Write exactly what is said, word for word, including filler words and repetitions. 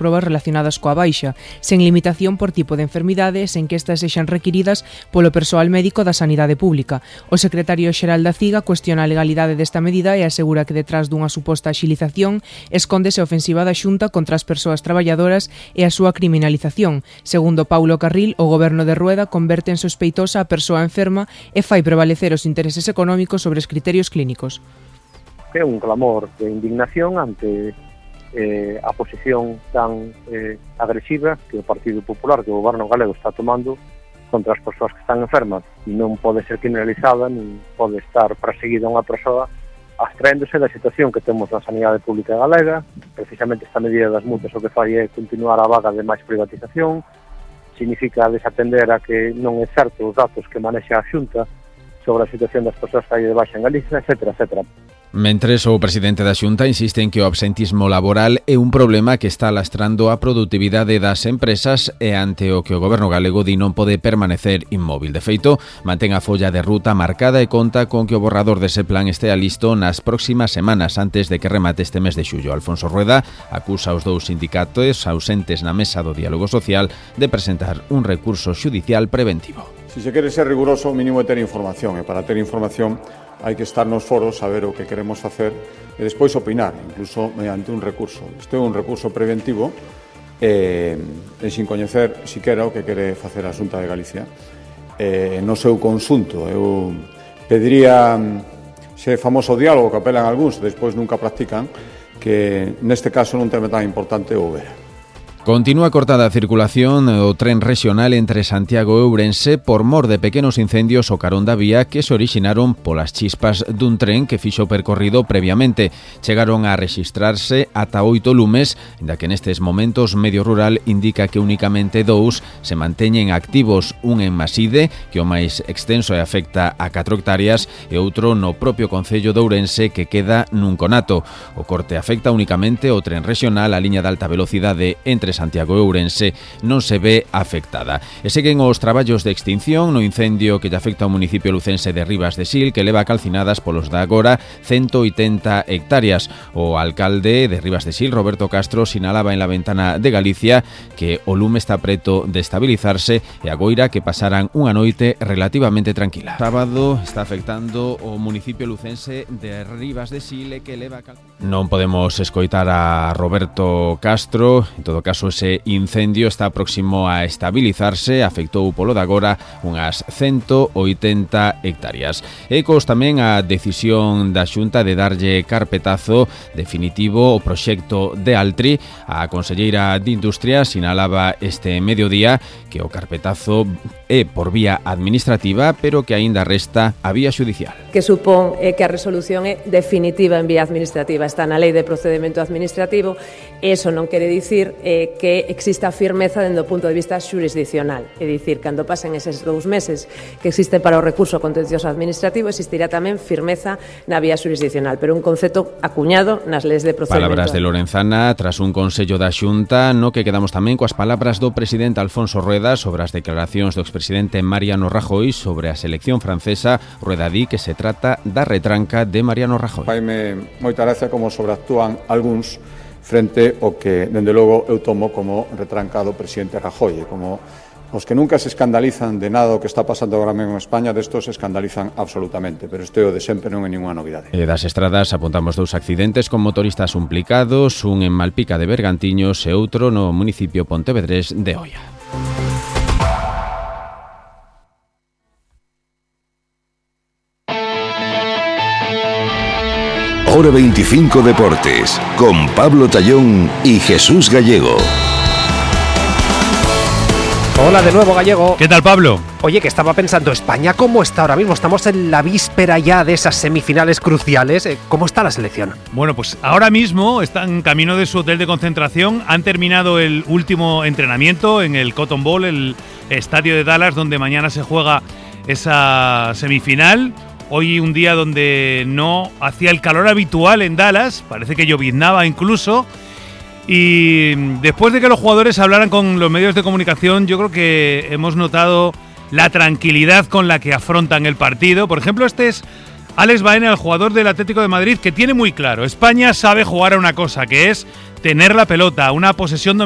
probas relacionadas coa baixa, sen limitación por tipo de enfermidade, sen que estas sexan requiridas polo persoal médico da sanidade pública. O secretario xeral da CIGA cuestiona a legalidade desta medida e asegura que detrás dunha suposta axilización escóndese a ofensiva da Xunta contra as persoas traballadoras e a súa criminalización. Segundo Paulo Carril, o goberno de Rueda converte en sospeitosa a persoa enferma e fai prevalecer os intereses económicos sobre os criterios clínicos. É un clamor de indignación ante eh, a posición tan eh, agresiva que o Partido Popular, que o goberno galego está tomando contra as persoas que están enfermas. Non pode ser criminalizada, non pode estar perseguida unha persoa abstraéndose da situación que temos na sanidade pública galega. Precisamente esta medida das multas o que fai é continuar a vaga de máis privatización, significa desatender a que non é certo os datos que manexa a Xunta sobre a situación das persoas que hai de baixa en Galicia, etcétera, etcétera. Mentres, o presidente da Xunta insiste en que o absentismo laboral é un problema que está lastrando a produtividade das empresas e ante o que o goberno galego di non pode permanecer inmóvil. De feito, mantén a folla de ruta marcada e conta con que o borrador dese plan estea listo nas próximas semanas antes de que remate este mes de xullo. Alfonso Rueda acusa os dous sindicatos ausentes na mesa do diálogo social de presentar un recurso xudicial preventivo. Si se quere ser riguroso, o mínimo é ter información, e para ter información hai que estar nos foros, saber o que queremos facer e despois opinar, incluso mediante un recurso. Este é un recurso preventivo e, e sin coñecer siquera o que quere facer a Xunta de Galicia. E, no seu conxunto, eu pediría ese famoso diálogo que apelan algúns e despois nunca practican, que neste caso non tema tan importante o houbera. Continúa cortada a circulación o tren rexional entre Santiago e Ourense por mor de pequenos incendios ao carón da vía que se orixinaron polas chispas dun tren que fixo o percorrido previamente. Chegaron a rexistrarse ata oito lumes, ainda que nestes momentos Medio Rural indica que únicamente dous se manteñen activos, un en Maside, que o máis extenso e afecta a catro hectáreas, e outro no propio concello de Ourense que queda nun conato. O corte afecta únicamente o tren rexional, a liña de alta velocidade entre Santiago e Ourense non se ve afectada. E seguen os traballos de extinción no incendio que lle afecta ao municipio lucense de Ribas de Sil, que leva calcinadas polos da agora ciento oitenta hectáreas. O alcalde de Ribas de Sil, Roberto Castro, sinalaba en La Ventana de Galicia que o lume está preto de estabilizarse e agoira que pasaran unha noite relativamente tranquila. O sábado está afectando o municipio lucense de Ribas de Sil, que leva cal... Non podemos escoitar a Roberto Castro. En todo caso, ese incendio está próximo a estabilizarse, afectou polo de agora unhas ciento oitenta hectáreas. Ecos tamén a decisión da Xunta de darlle carpetazo definitivo o proxecto de Altri. A conselleira de Industria sinalaba este mediodía que o carpetazo é por vía administrativa, pero que aínda resta a vía xudicial. Que supón eh, que a resolución é definitiva en vía administrativa, está na Lei de Procedimento Administrativo. Eso non quere dicir eh, que exista firmeza dende o punto de vista xurisdiccional. É dicir, cando pasen eses dous meses que existe para o recurso contencioso administrativo, existirá tamén firmeza na vía xurisdiccional, pero un concepto acuñado nas leis de procedimento. Palabras de Lorenzana tras un consello da Xunta no que quedamos tamén coas palabras do presidente Alfonso Rueda sobre as declaracións do expresidente Mariano Rajoy sobre a selección francesa. Rueda di que se trata da retranca de Mariano Rajoy. Faime moita gracia como sobreactúan algúns frente ao que, dende logo, eu tomo como retrancado presidente Rajoy, como os que nunca se escandalizan de nada o que está pasando agora mesmo en España, destos se escandalizan absolutamente, pero isto é o de sempre, non é ninguna novidade. E das estradas apuntamos dous accidentes con motoristas implicados, un en Malpica de Bergantiños e outro no municipio pontevedrés de Oia. Hora veinticinco Deportes, con Pablo Tallón y Jesús Gallego. Hola de nuevo, Gallego. ¿Qué tal, Pablo? Oye, que estaba pensando, ¿España cómo está ahora mismo? Estamos en la víspera ya de esas semifinales cruciales. ¿Cómo está la selección? Bueno, pues ahora mismo están en camino de su hotel de concentración. Han terminado el último entrenamiento en el Cotton Bowl, el estadio de Dallas, donde mañana se juega esa semifinal. Hoy un día donde no hacía el calor habitual en Dallas, parece que lloviznaba incluso. Y después de que los jugadores hablaran con los medios de comunicación, yo creo que hemos notado la tranquilidad con la que afrontan el partido. Por ejemplo, este es Alex Baena, el jugador del Atlético de Madrid, que tiene muy claro, España sabe jugar a una cosa, que es tener la pelota, una posesión dominante.